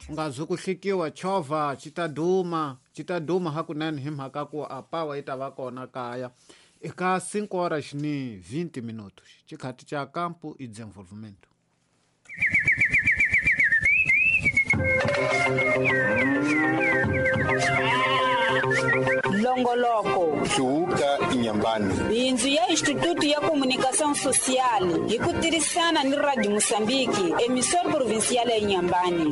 U nga zi ku hlikiwa chovha xi ta duma, xi ta duma hakunene hi mhaka ku a power yi ta va kona kaya. Eka 5 horas ni 20 minutos, xikhathi xa Campo e Desenvolvimento. Longoloko Hluvuka Inyambani. Bindzu ya Instituto ya Comunicação Social hi ku tirhisana ni Radio Moçambique, emissora provincial ya Inhambane.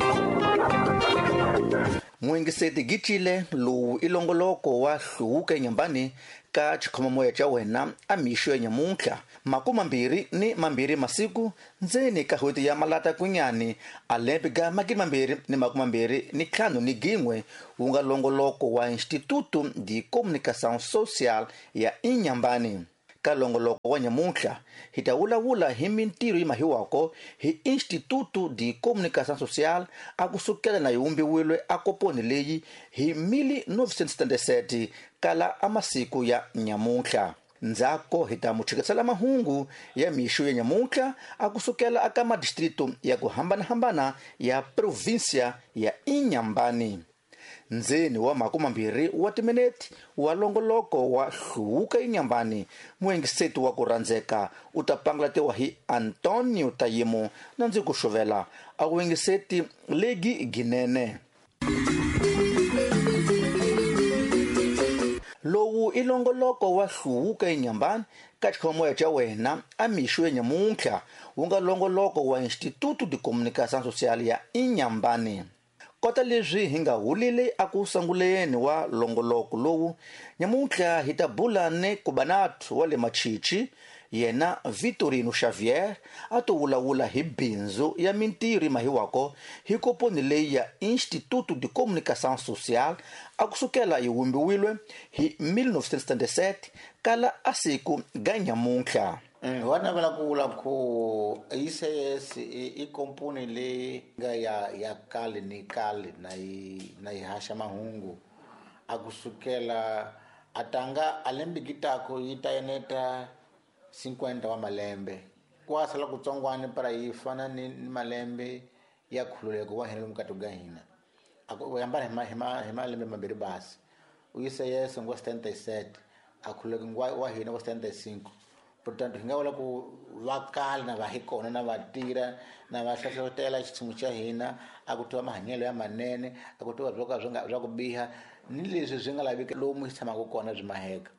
Muyingiseti Gitile lowu i longoloko wa Hluvuka Inyambani ka xikhomamoya xa wena a mixo ya nyamuntlha 22 masiku ndzeni ka n'hweti ya Malata Kunyani a lembe ga 2025 wu nga longoloko wa Instituto de Comunicação Social ya Inhambane. Ka longoloko wa nyamuntlha hi ta vulavula hi mintirho yi mahiwako hi Instituto de Comunicação Social a kusukela na yi vumbiwile a koponi leyi hi 1977 kala a masiku ya nyamuntlha. Ndzhaku hi ta mu tshikisela mahungu ya mixo ya nyamuntlha a kusukela aka madistrito ya ku hambanahambana ya provinsia ya Inhambane. Ndzeni wa 20 wa timinete wa longoloko wa Hluvuka Inyambani, muyingiseti wa ku rhandzeka u ta pangalatiwa hi Antonio Tayimo na ndzi ku xuvela a vuyingiseti legi ginene. Lowu i longoloko wa Hluvuka Inyambani ka xikhomoya xa wena a mixo ya nyamuntlha wu nga longoloko wa Instituto de Comunicação Social ya Inhambane. Kota leswi hi nga hulile a ku sunguleni wa longoloko lowu, nyamuntlha hi ta bula ni Kubanatu wa le Machichi, yena Vitorino Xavier a to vulavula hi bindzu ya mintirho yi mahiwako hi koponi leyi ya Instituto de Comunicação Social a kusukela yi vumbiwile hi 1977 kala a siku ga nyamuntlha. Wa navela ku vula ku ICS i komponi leyi nga ya kale ni kale na yi haxa mahungu a kusukela a tanga a lembe gitako yi ta eneta 50 wa malembe kwa sala kutsongwana para yi fana ni malembe ya khululeko wa hina lomu ka ga hina a ku hambana hi malembe mambirhi basi ICS ngo 77 a khululeko wa hina ngo 75. Portanto hi nga vula ku va kala na va hi kona na va tirha na va hlohlotela xitshungu xa hina a ku tiva mahanyelo ya manene a ku tiva swo ka swi nga swa ku biha ni leswi swi nga laveki lomu hi tshamaka kona byi maheka.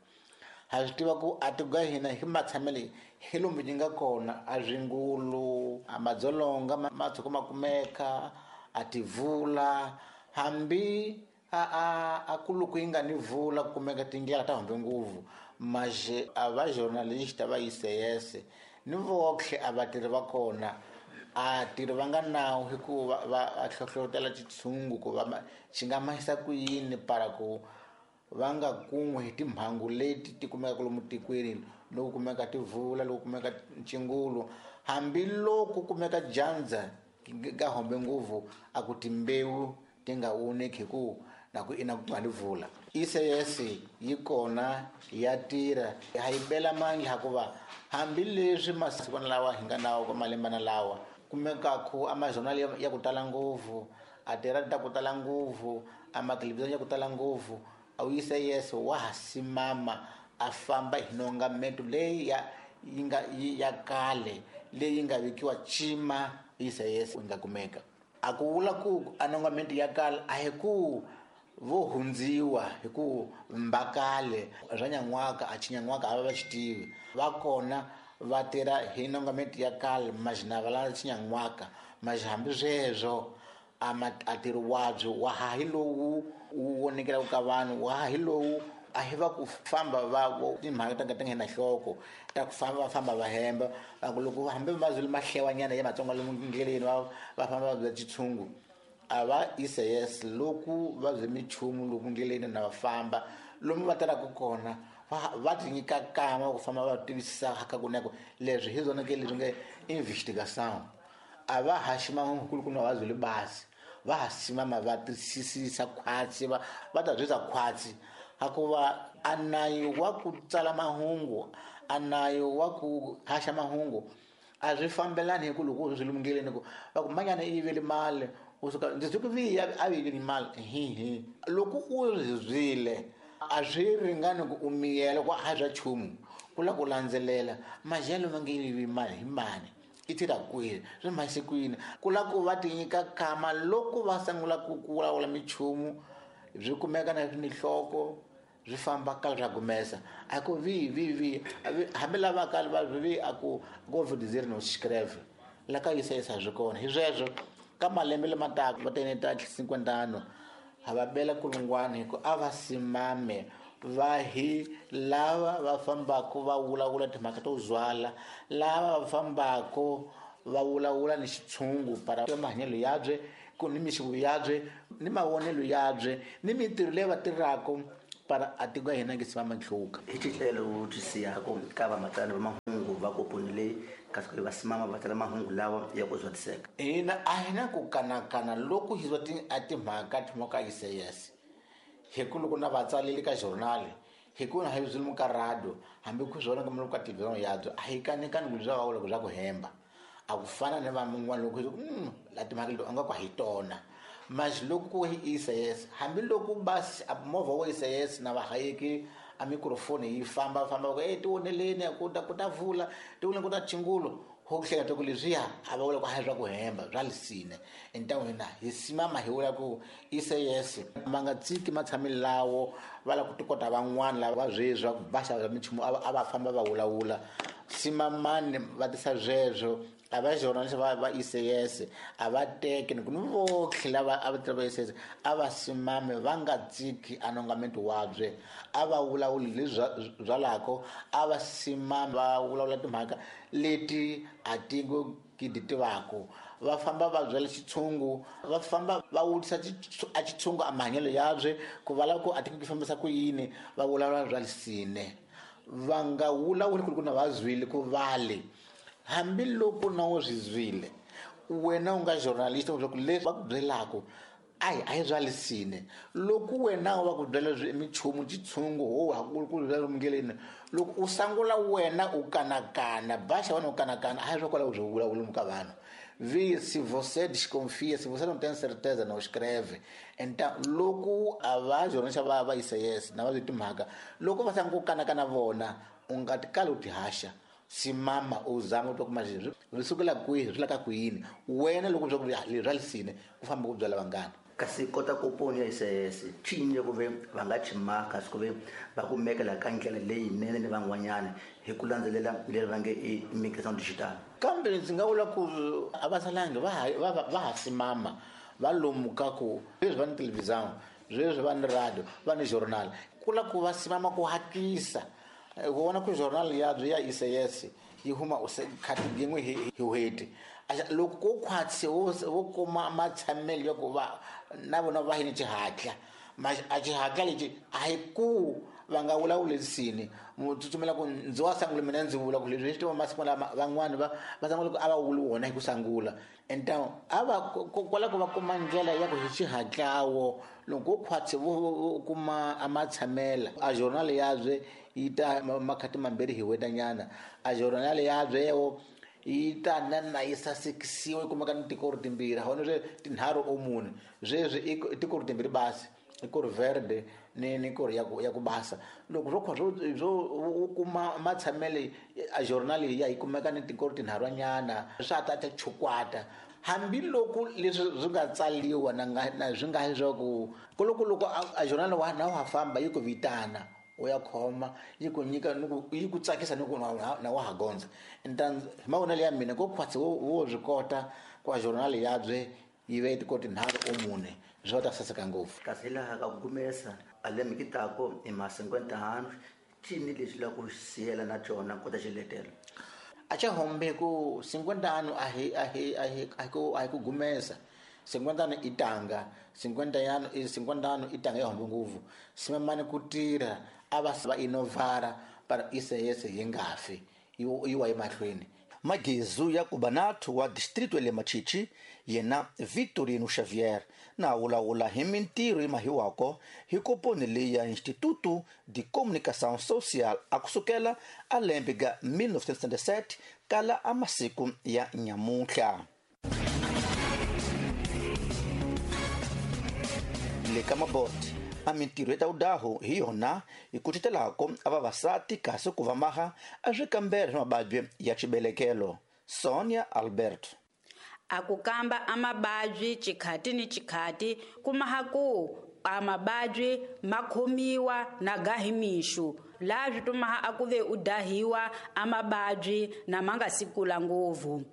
Ha swi tiva ku a tiko ga hina hi matshamelo hi lomu yi nga kona a swingulu a madzolonga ma tshuka ma kumeka a tivula hambi a ku loko yi nga ni vula ku kumeka tindlela ta humbe nguvu maje a va journalista va ICS ni voxe a vatirhi va kona a tirhi va nga nawu hikuva va hlohlotela xitshungu ku va xi nga mahisa ku yini para ku va nga kun'we hi timhangu leti ti kumekaka lomu tikweni loko kumeka tivula loko kumeka ncingulu hambiloko kumeka dyandza ga hombe nguvu a ku timbewu ti nga voneki hi ku na ku ina ku nga ni vula. ICS yi kona ya tirha ha yi bela mandla hikuva hambileswi masiku lawa hi nga nawo ka malembana lawa kumekaku a majournal ya ku tala ngopfu a tirha ta ku tala ngopfu a mathelevhizhoni ya ku tala ngopfu a ICS wa ha simama a famba hi nongameto leyi ya yi nga ya kale leyi nga vekiwa cima ICS yi nga kumeka. A ku vula ku a nongamento ya kale a hi ku vo hundziwa hi ku mbakale swa nyan'waka a xinyan'waka a va va xi tivi va kona va tirha hi nongamento ya kale majina va la xinyan'waka maji hambi sweswo a tirhi wabyo wa ha hi lowu wu vonekelaka ka vanhu wa ha hi lowu a hi va ku famba va timhaka ta nga ti nga na nhloko ta ku famba va famba va hemba va ku loko hambi mazulu ma hlewanyana ya Matsonga lomu ndleleni va famba va bya xitshungu a va ICS loko va bye minchumu lomu ndleleni na va famba lomu va tirhaka kona va ti nyika kama ku famba va tivisisa ka kuneko leswi hi zwona ke leswi nge investigation a va haxi mahungu ku na va byele basi va ha simama va twisisa khwatsi va ta byisa khwatsi hikuva a nayo wa ku tsala mahungu a nayo wa ku haxa mahungu a swi fambelani hi ku loko swi lumungileni ku va ku manyana i yivele mali U suka ndzi swi ku vi a vi ni mali hi loko u zwile a swi ringani ku u miyela ku a swa nchumu ku lava ku landzelela majelo va nge yivi mali hi mani i tirha kwihi swi mhasi kwini ku lava ku va ti nyika kama loko va sungula ku vulavula minchumu byi kumeka na mihloko swi famba kala swa gumesa a ku vi vi vi hambi lava kala va vi a ku go dizer no escreve la ka yisa yisa swi kona hi sweswo ka malembe lama taka va tene ta 50 ano ha va bela kulungwana hi ku a va simame va hi lava va fambaka va vulavula timhaka to zwala lava va fambaka va vulavula ni xitshungu para mahanyelo yabye ku ni mixavo yabye ni mavonelo yabye ni mintirho leyi va tirhaka para a tiko ya hina nge simama nhluka hi xitlelo wu twisiyako ka vamatsani va mahungu va koponi leyi kasi ku va simama va tsala mahungu lawa ya ku zwatiseka hina a hi na ku kanakana loko hi zwa a timhaka timoka ICS hi ku loko na vatsaleli ka journal hi ku na hi zwi ka radio hambi ku zwona ka muloko ka TV yabyo a hi kanekani ku bya va loko bya ku hemba a ku fana ni van'wana loko hi la timhaka leti a nga ku hi tona mas loko ku hi ICS hambi loko basi movha wa ICS na vahayeki a microphone yi famba famba ku e tioneleni ku ta ku ta vula tioneleni ku ta chingulo ho hleketa ku leswiya a va vula ku a hi swa ku hemba bya lisine entan'wini hi simama hi vula ku ICS ma nga tsiki matshamelo lawo va lava ku tikota van'wana lava sweswi va ku va xava minchumu a va famba va vulavula simamani va tisa sweswo a va journalist va ICS a va teke ni ku ni votlhe lava a va tirha va ICS a va simame va nga tsiki anongamento wabye a va vulavuli leswi byalako a va simame va vulavula timhaka leti a ti ngo ki ti tivaka va famba va byela xitshungu va famba va vutisa a xitshungu a mahanyelo yabye ku va lava ku a ti ku fambisa ku yini va vulavula bya lisine va nga vulavuli ku ri ku na va zwile ku vale hambiloko na wo swi zwile wena u nga journalist u ku leswi va ku byelaka a hi bya lisine loko wena va ku byela minchumu xitshungu ho ha ku byela mungeleni loko u sangula wena u kanakana baxa wena u kanakana a hi swa kwalaho byo vulavula ka vanhu vi se você desconfia se você não tem certeza não escreve então loko a va journalist va ICS na va timhaka loko va sanga ku kanakana vona u nga tikali u ti haxa simama u zama u twa kuma leswi swi sukela kwihi swi laka kwini wena loko swa ku leswi swa lisine ku famba ku byela vanghana kasi kota koponi ya ICS cinye ku ve va nga chimaka kasi ku ve va kumekela ka ndlela leyinene ni van'wanyana hi ku landzelela leri va nge i migration digital kambe ndzi nga vula ku a va salangi va ha simama va lomuka ku leswi va ni television sweswi va ni radio va ni journal ku la ku va simama ku hatlisa ku vona ku journal yabyo ya ICS yi huma khati yin'we hi n'hweti loko ko khwatsi wo kuma matshamelo ya ku va na vona va hi ni xihatla a xihatla lexi a hi ku va nga vulavuli lisini tsutsumela ku ndzi wa sangula mina ndzi vula ku leswi swi tiva masiku lama van'wani va sangula ku a va vuli wona hi ku sangula enta a va kwala ku va kuma ndlela ya ku hi xihatlawo loko khwatsi vo kuma a matshamela a journal yabye yi ta makhati mambirhi hi wetanyana a journal yabye yewo yi ta na yi sasekisiwa yi kumeka ni tikoro timbirhi hona swe tinharhu o mune sweswi i tikoro timbirhi basi i koro verde ni koro ya ku basa loko swo khwa swo u kuma matshamelo a journal ya yi kumeka ni tikoro tinharhunyana swa ta ta chukwata hambiloko leswi swi nga tsaliwa na swi nga swa ku loko loko a journal wa na wa famba yi ku vitana u ya khoma yi ku nyika ni ku yi ku tsakisa ni ku na wa ha gondza enta hi mavonelo ya mina ko khwatsi wo swi kota ku a journal yabye yi ve tiko tinharhu o mune swo ta saseka ngopfu kasi laha ka ku gumesa a lembe ki tako i ma 50 cini lexi la ku siyela na cona kota xiletelo a xa hombe ku 50 ano a hi ku gumesa 50 ano i tanga 50 ano i 50 ano i tanga ya hombe ngopfu simamani ku tirha a va va innovara para ICS yi nga fi yi wa emahlweni Magezu ya Kubanatu wa distrito le Machichi yena Victorino Xavier na vulavula hi mintirho yi mahiwako hi koponi leyi ya Instituto de Comunicação Social a kusukela a lembe ga 1977 kala a masiku ya nyamuntlha. Le ka Mabote a mintirho ya tawudahu hi yona hi kucetelako a vavasati kasi ku va maha a swi kambela swa mavabyi ya xibelekelo. Sonia Albert. A ku kamba a mavabyi xikhati ni xikhati kumaha ku a mavabyi ma khomiwa na gahi mixu laha swi tumaha a ku ve u dahiwa a mavabyi na ma nga si kula ngopfu.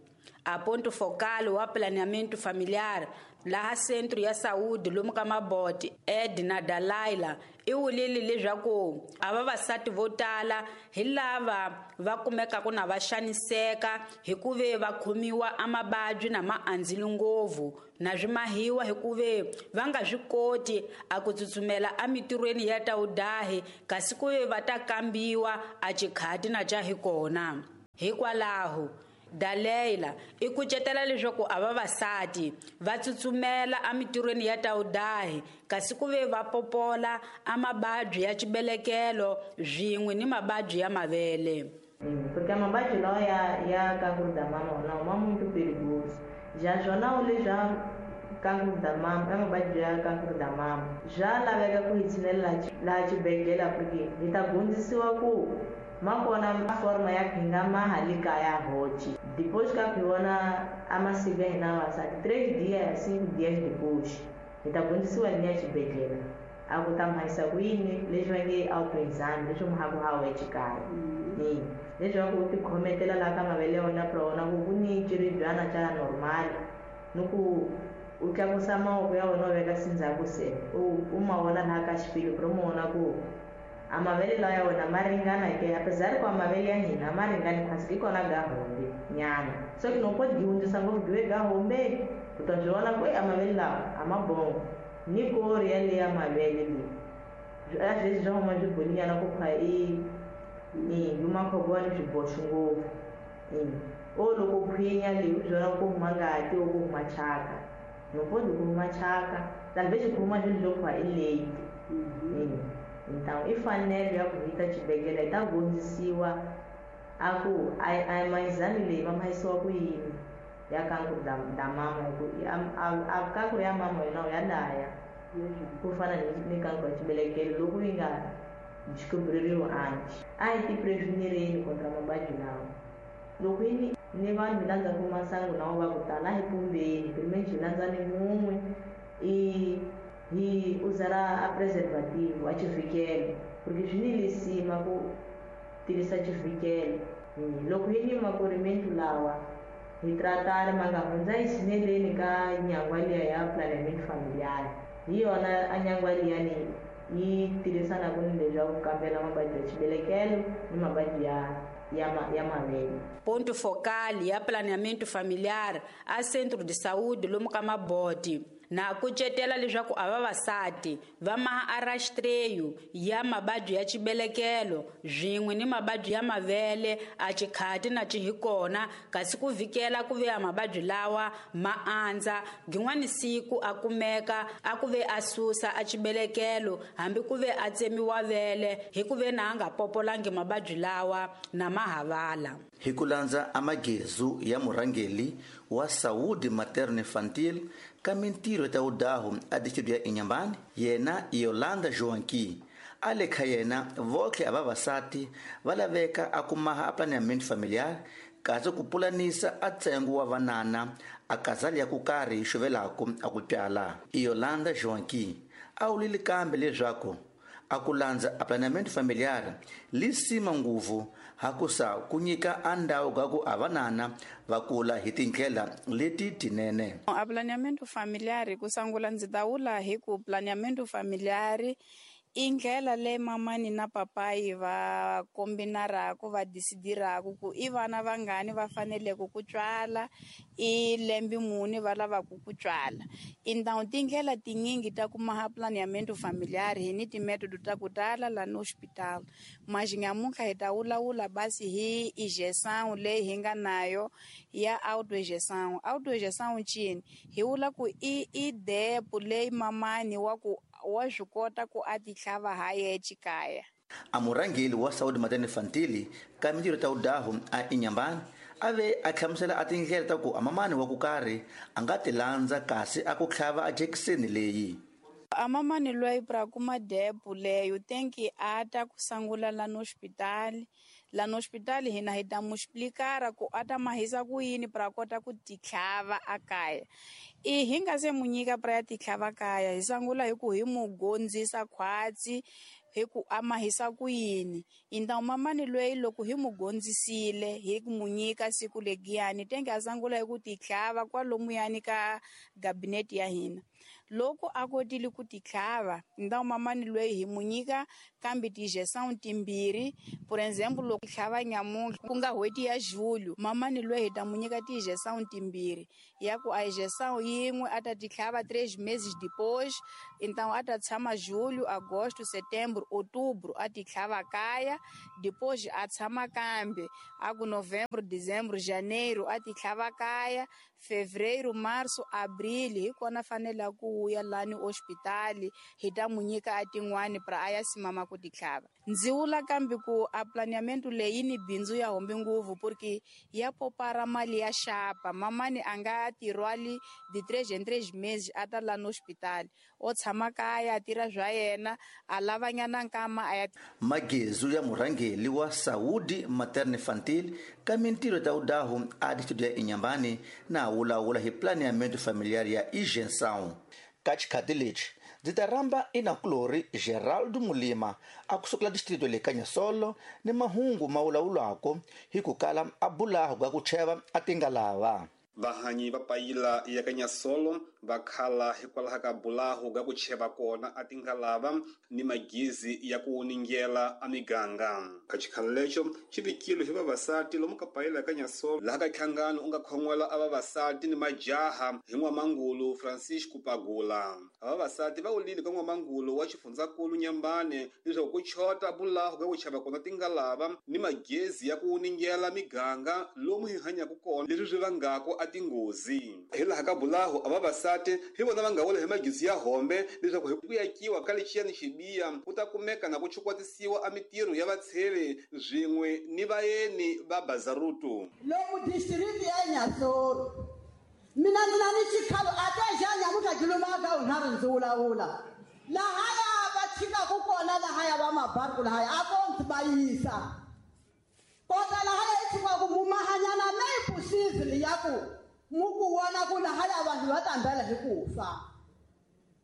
A ponto focal wa planeamento familiar laha centro ya saúde lomu ka Mabote Edna Dalaila i wulile leswaku a vavasati vo tala hi lava va kumekaka na va xaniseka hi ku ve va khomiwa a mavabyi na ma andzile ngopfu na swi mahiwa hi ku ve va nga swi koti a ku tsutsumela emitirhweni ya tawudahi kasi ku ve va ta kambiwa a xikhati na xa hi kona. Hikwalaho Daleila i kucetela leswaku a vavasati va tsutsumela emitirhweni ya tawudahi kasi ku ve va popola a mavabyi ya xibelekelo swin'we ni mavabyi ya mavele. Porque mavabyi lawa ya cancro da mama wona ma muito perigoso. Já jornal já cancro da mama, é mavabyi ya cancro da mama. Já laveka ku hi tshinelela laha xibedhlele porque hi ta dyondzisiwa ku ma kona forma ya ku hi nga maha le kaya hoci. Depois ka ku hi vona a masiku ya hina vavasati 3 dias 5 dias depois hi ta dyondzisiwa ni ya xibedhlele a ku ta mhayisa ku yini leswi va nge autoexame leswi mahaku hawa exikaya leswaku u tikhometela laha ka mavele ya wena pra wona ku ku ni xiribyana xa normal ni ku u tlakusa mavoko ya wena u veka sindzhaku se u ma vona laha ka xipilo pra u ma vona ku a mavele lawa ya wena ma ringana ke apesar ku a mavele ya hina ma ringani kasi i kona ga hombe nyana so ki no pode hundzisa ngopfu give ga hombe u ta swi vona ku a mavele lawa a ma bongo ni kori ya le ya mavele leyi a sweswi swa huma swi bolinyana ku pha i yumakhobowa ni swiboxo ngopfu o loko khwinya leyi u swi vona ku huma ngati o ku huma chaka no pode ku huma chaka talvez ku huma swilo swo pha i late. Então i fanele ya ku hi ta xibedhlele hi ta dyondzisiwa a ku a maexame leyi va mahisiwa ku yini ya cancro da mama hi ku a cancro ya mama yona ya daya ku fana ni cancro ya xibelekelo loko yi nga descobririwi antes. A hi ti prevenireni contra mavabyi lawa. Loko yi ni vanhu hi landzaku masangu lawa va ku tala a hi pumbeni pelo hi landzani mun'we i hi usar a preservativo a xivikelo porque swi ni lisima ku tirhisa xivikelo. Loko hi ni makorimento lawa hi tratare ma nga hundza hi tshineleni ka nyangwa liya ya planeamento familiar hi yona a nyangwa liyani yi tirhisanaka ni leswaku kambela mavabyi ya xibelekelo ni mavabyi ya mavele. Ponto focal ya planeamento familiar a centro de saúde lomu ka Mabote na kucetela leswaku a vavasati va maha a rastreyo ya mavabyi ya xibelekelo swin'we ni mavabyi ya mavele a xikhati na xihikona kasi ku vhikela ku ve a mavabyi lawa ma andza gin'wani siku a kumeka a ku ve a susa a xibelekelo hambi ku ve a tsemiwa vele hi ku ve na a nga popolangi mavabyi lawa na mahavala. Hi ku landza amagezu ya murhangeli wa Saúde Materno Infantil ka mintirho ta udahu a distrito ya Inhambane yena Yolanda Joanqui a le kha yena votlhe a vavasati va laveka a kumaha a planeamento familiar kasi ku pulanisa a ntsengo wa vanana a kazali ya ku karhi yi xuvelaku a ku pyala. Yolanda Joanqui a wulile kambe leswaku a ku landza a planeamento familiar li sima nguvu hakusa ku nyika a ndhawu ga ku a vanana va kula hi tindlela leti tinene. A planeamento familiar ku sungula ndzi ta vula hi ku planeamento familiar i ndlela leyi mamani na papayi va kombinaraku va decidiraku ku i vana vangani va faneleke ku tswala i lembe muni va lavaku ku tswala. Então tindlela tinyingi ta ku maha planeamento familiar hi ni timetodo ta ku tala la no hospital mas nyamuntlha hi ta vulavula basi hi injeção leyi hi nga nayo ya autoinjeção. Autoinjeção ncini hi vula ku i depo leyi mamani wa ku wa swi kota ku a ti tlhava ha yexe kaya. A murhangeli wa Saúde Materno Infantil ka mintirho ta udahu a Inhambane a ve a hlamusela a tindlela ta ku a mamani wa ku karhi a nga ti landza kasi a ku tlhava a jekiseni leyi. A mamani loyi pra kuma depo leyo tenki a ta ku sangula lano hospitali. Lano hospitali hina hi ta mu explikara ku a ta mahisa ku yini pra kota ku titlhava a kaya. I hi nga se mu nyika pra ya titlhava kaya, hi sangula hi ku hi mu gondzisa khwatsi hi ku a mahisa ku yini. Então mamani loyi loko hi mu gondzisile hi ku mu nyika siku legiyani tenge a sangula hi ku titlhava kwalomuyani ka gabinete ya hina. Loko a kotile ku titlhava, então mamani loyi hi mu nyika kambe ti-injeção timbirhi. Por exemplo, loko tlhava nyamuntlha ku nga n'hweti ya julho, mamani loyi hi ta mu nyika ti-injeção timbirhi ya ku a injeção yin'we a ta titlhava 3 meses depois, então a ta tshama julho, agosto, setembro, outubro a titlhava kaya, depois a tshama kambe a ku novembro, dezembro, janeiro a titlhava kaya, fevereiro, março, abril hi kona fanele ku ya lani hospitali hi ta mu nyika a tin'wani pra a ya simama ku titlhava. Ndzi vula kambe ku a planeamento leyi ni bindzu ya hombe nguvu porque ya popara mali ya xapa. Mamani a nga tirhwali de 3 em 3 meses a ta lani hospitali, o tshama kaya a tirha swa yena a lavanyana nkama a ya. Magezu ya murhangeli wa Saúde Materno Infantil ka mintirho ta udahu a distrito ya Inhambane na wulawula hi planeamento familiar ya injeção. Ka xikhati lexi ndzi ta rhamba inakulori Geraldo Mulima a kusukela distrito le ka Nyasolo ni mahungu ma wulawulako hi ku kala a bulahu ka ku cheva a tingalava. Vahanyi va payila ya ka Nyasolo va khala hikwalaho ka bulahu ga ku cheva kona a tingalava ni magezi ya ku wuningela a miganga. Ka xikhalo lexo xi vikile hi vavasati lomu ka payila ya ka Nyasolo laha ka nhlangano u nga khon'wela a vavasati ni majaha hi n'wamangulu Francisco Pagula. A vavasati va wulile ka n'wamangulu wa xifundzakulu Nyambane leswaku ku chota bulahu ga ku cheva kona tingalava ni magezi ya ku wuningela miganga lomu hi hanyaka kona, leswi swi vangaka a tinghozi. Hi laha ka bulahu a vavasati hi vona va nga wela hi magezi ya hombe leswaku hi ku yakiwa ka lexiyani xibiya ku ta kumeka na ku chukwatisiwa a mitirho ya vatsheve swin'we ni vayeni va bazarutu. Lomu district ya Nyasolo mina ndzi na ni xikhalo a te xa nyamuntlha kilomaka unharhu ndzi wulawula lahaya va tshikaku kona lahaya va mabarku lahaya a ko ndzi va yisa kota lahaya i tshikaku mumahanyana leyi possible ya ku mu ku vona ku lahaya vanhu va tambela hi ku fa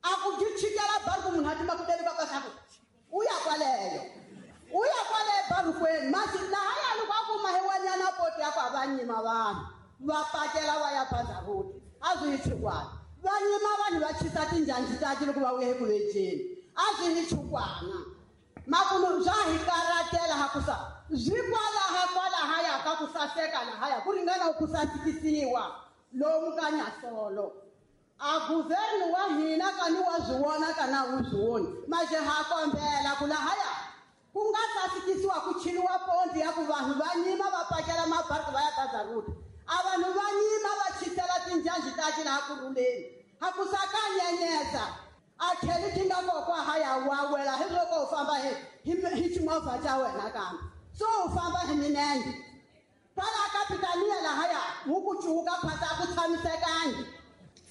a ku byi chikela barku munhu a tima ku teli va ku u ya kwaleyo u ya kwaleyo barukweni masi lahaya loko a kuma hi wanyana poti ya ku a va nyima vanhu va pakela va ya bazaruti a swi hi chukwana va nyima vanhu va chisa tinjhanji tati loko va vuya eku vejeni a swi hi chukwana makumu swa hi karatela ha ku sa swi kwalaha kwalahaya ka ku saseka lahaya ku ringana ku sasekisiwa lomu ka Nyasolo. A guvernu wa hina kani wa swi vona kana wu swi voni maxe ha kombela ku lahaya ku nga sasekisiwa ku chiniwa ponti ya ku vanhu va nyima va pakela mabariki va ya bazaruti a vanhu va nyima va chisela tinjhanji tati laha ku rhuleni ha ku sa ka nyenyesa a tlheli ti nga kokwa haya wa wela hi loko u famba hi ximovha xa wena kambe so u famba hi minenge kwala ka pitaniya lahaya wu ku cuka phasa a ku tshamisekangi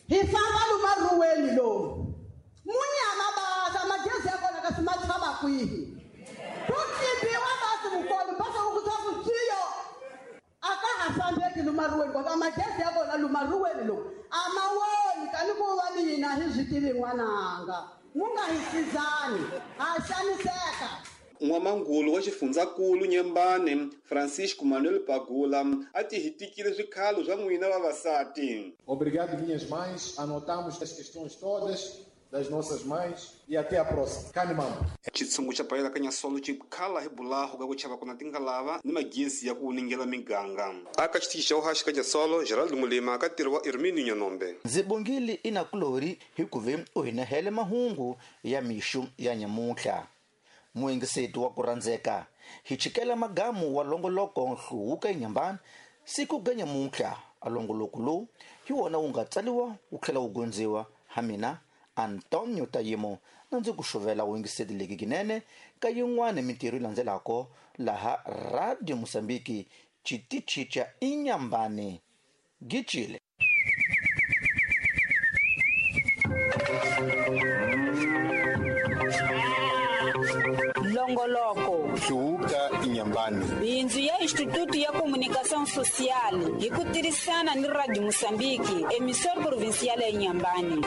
hi famba lumaruweni lomu munyama basa magezi ya kona kasi ma tshama kwihi ku tlimbiwa basi vukolo basa u ku twa ku tsiyo a ka ha fambeki lumaruweni koka magezi ya kona lumaruweni lomu a ma woni kani ku va ni hina hi swi tivi n'wananga mu nga hi sizani ha xaniseka. N'wamangulu wa xifundzakulu Nyembane Francisco Manuel Pagula a ti hitikile swikhalo swa n'wina vavasati. Obrigado, minhas mães. Anotamos as questões todas das nossas mães e até a próxima. Kanimambo. Xitshungu xa payela ka Nyasolo xi khala hi bulahu ka ku chava kona tingalava ni magezi ya ku wuningela miganga. Aka xitichi xa uhaxi ka Nyasolo, Gerald Mulima ka ntirho wa Irmini Nyanombe. Ndzi bongile inakulori hikuva u hi nehele mahungu ya mixu ya nyamuntlha. Muyingiseti wa ku rhandzeka hi chikela magamu wa longoloko nhluvuko eNyambani siku ga nyamuntlha. A longoloko lowu hi wona wu nga tsaliwa wu tlhela wu gondziwa ha mina Antonio Tayimo na ndzi ku xuvela vuyingiseti leki kinene ka yin'wana mintirho yi landzelako laha Radio Mosambiki xitichi xa Inhambane. Gicile. Longoloko Hluvuka Inhambane. Bindzu ya Instituto ya Comunicação Social hi ku tirhisana ni Radio Moçambique, emissora provincial ya Inhambane.